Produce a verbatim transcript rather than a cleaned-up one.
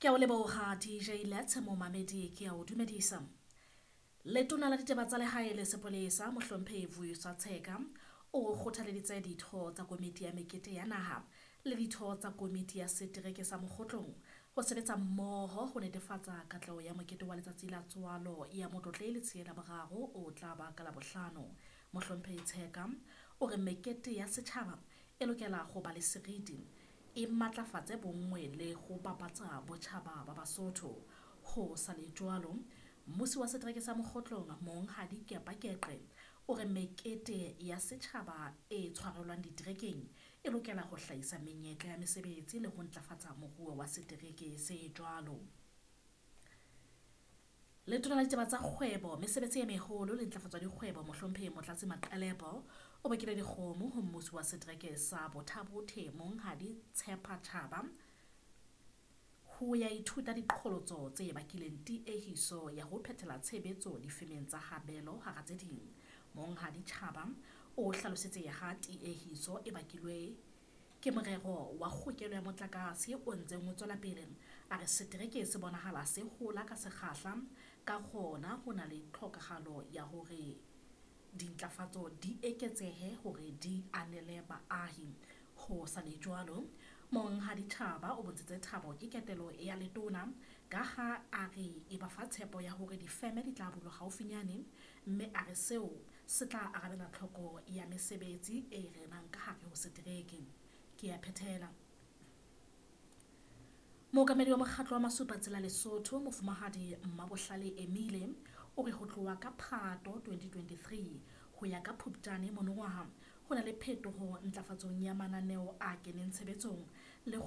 Ke a o leboha D J Let's momamedi, ke a o dumedisa. Letona la ditaba tsa lehae le sepolesa, Mohlomphehi Vuyiswa Tsheka, o kgothaleditse ditho tsa komiti ya mekete ya naha le ditho tsa komiti ya setereke sa Mokgotlong ho sebetsa mmoho ho netefatsa katleho ya mokete wa letsatsi la tswalo ya Motlotlehi Letsie la Boraro o tla ba ka Labohlano. Mohlomphehi Tsheka o re mekete ya setjhaba e lokela ho ba le seriti, e matlafatse bonngwe le ho bapatsa botjhaba ba Basotho. Ho sa le jwalo, mmusi wa setereke sa Mokgotlong, Monghadi Kepa Keqe, o re mekete ya setjhaba e tshwarelwang diterekeng e lokela ho hlahisa menyetla ya mesebetsi le ho ntlafatsa moruo wa setereke se jwalo. Letona la ditaba tsa kgwebo, mesebetsi e meholo le ntlafatso ya dikgwebo, Mohlomphehi Motlatsi Maqelepo, o bakile dikgomo ho mmusi wa setereke sa Botha-Bothe, Monghadi Tshepa Chaba, ho ya ithuta diqholotso tse bakileng tiehiso ya ho phethela tshebetso difemeng tsa habelo hara tse ding. Monghadi Chaba o hlalositse ha tiehiso e bakilwe ke morero wa kgokelo ya motlakase o ntseng o tswela pele. A re setereke se bonahala se hola ka sekgahla, ka hona ho na le tlhokahalo ya hore dintlafatso di eketsehe hore di anele baahi. Ho sa le jwalo, Monghadi Chaba o bontshitse thabo ke ketelo ya letona ka ha a re e ba fa tshepo ya hore difeme di tla bulwa haufinyane, mme a re seo se tla arabela tlhoko ya mesebetsi e renang ka hare ho setereke. Ke a phethela. Mookamedi wa mokgatlo wa Masupatsela Lesotho, Mofumahadi Mmabohlale Emile, o re ho tloha ka Phato twenty twenty-three ho ya ka Phuptjane monongwaha ho na le phetoho ntlafatsong ya mananeo a keneng tshebetsong.